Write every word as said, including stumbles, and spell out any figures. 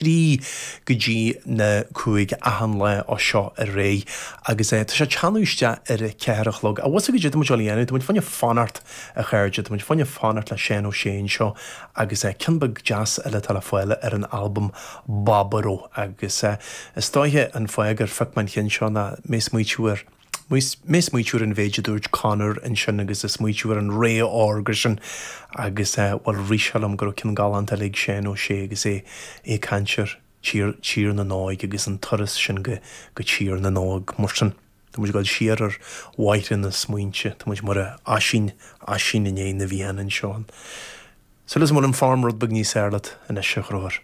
trí go dtí na cúig achan lá ó seo ar aghaidh agus tá sé teannadh isteach ar a ceathair a chlog. A bhfuil go dtí muid dhéanamh, Tá muid fá choinne fanacht a chairde, Tá muid fá choinne fanacht le Seán Ó Sé anseo agus ceann beag deas eile atá le fáil ar an albam Baboró agus is dóiche an fáth gur phioc mé an ceann seo ná mé ag smaoitiú ar Mé smaoitiú ar an mhéid a dúirt Conor ansin agus ag smaoitiú ar an ré órga sin agus bhuel rith sé liom go raibh ceann galánta eile ag Seán Ó Sé agus é ag caint ar tír tír na nÓg agus an turas sin go go tír na nÓg mar sin. Tá muid ag dul siar ar bhóithre na smaointe, Tá muid mar Oisín Oisín i ndiaidh na bhFiann anseo. So is bhfuil an form rud beag níos fearr leat anois a Ghróir.